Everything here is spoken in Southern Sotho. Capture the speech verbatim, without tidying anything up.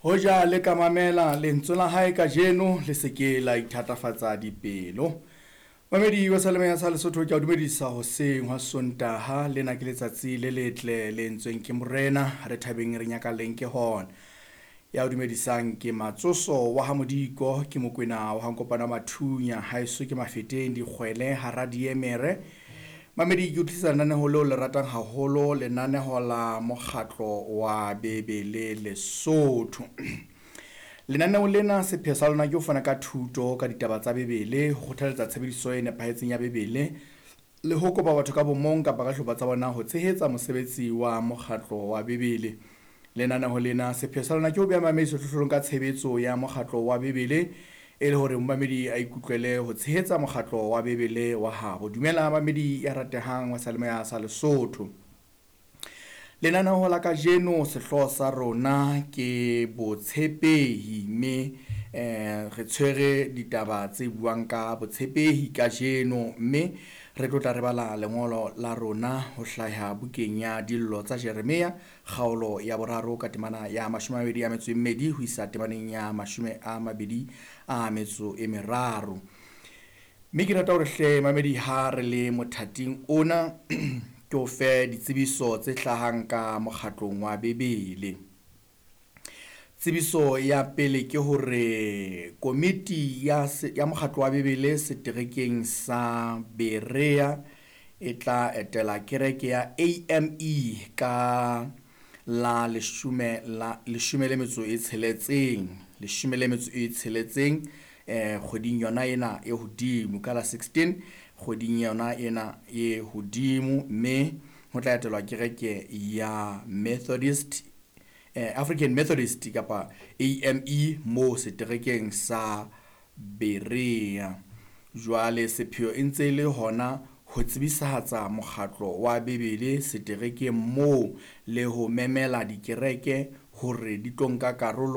Hoja le ka mamela lentswe la hae kajeno, le se ke la ithatafatsa dipelo. Mamedi wa Seyalemoya sa Lesotho, ke a o dumedisa hoseng hwa Sontaha. Lena ke letsatsi le letle le entsweng ke Morena, re thabeng re nyakalleng ke hona. Ya o dumedisang ke Matsoso wa ha Modiko, ke Mokwena wa ha Nkopano wa Mathunya, haeso ke Mafeteng Dikgwele hara Diemere. Mamedi, ke utlwisisa lenaneho leo le ratang haholo, lenaneho la mokgatlo wa Bebele Lesotho. Lenaneo lena sepheo sa lona ke ho fana ka thuto ka ditaba tsa Bebele, ho kgothaletsa tshebediso e nepahetseng ya Bebele le ho kopa batho ka bomong kapa ka hlopha tsa bona ho tshehetsa mosebetsi wa mokgatlo wa Bebele. Lenaneho lena sepheo sa lona ke ho beha mamedi sehlohlolong ka tshebetso ya mokgatlo wa Bebele, e le hore momamedi a ikutlwele ho tshehetsa mokgatlo wa Bebele wa habo. Dumela mamedi ya ratehang wa Seyalemoya sa Lesotho. Lenaneo la kajeno sehlooho sa rona ke botshepehi, mme eh re tshwere ditaba tse buang ka botshepehi kajeno, mme re tlo tla re bala lengolo la rona ho hlaha bukeng ya Dillo tsa Jeremia, kgaolo ya boraro ka temana ya mashome a mabedi a metso e mmedi ho isa temaneng ya mashome a mabedi a metso e meraro. Mme ke rata hore hle mamedi ha re le mothating ona ke o fe ditsebiso tse hlahang ka mokgatlong wa Bebele. Tsebiso ya pele ke hore komiti ya ya mokgatlo wa Bebele seterekeng sa Berea e tla etela kereke ya A M E ka la leshome la leshome le metso e tsheletseng, leshome le metso e tsheletseng eh kgweding yona ena e hodimo, ka la sixteen kgweding yona ena e hodimo, mme ho tla etelwa kereke ya Methodist, eh, African Methodist kapa A M E mo seterekeng sa Berea. Jwale sepheo e ntse le hona ho tsebisahatsa mokgatlo wa Bebele seterekeng moo le ho memela dikereke hore di tlo nka karolo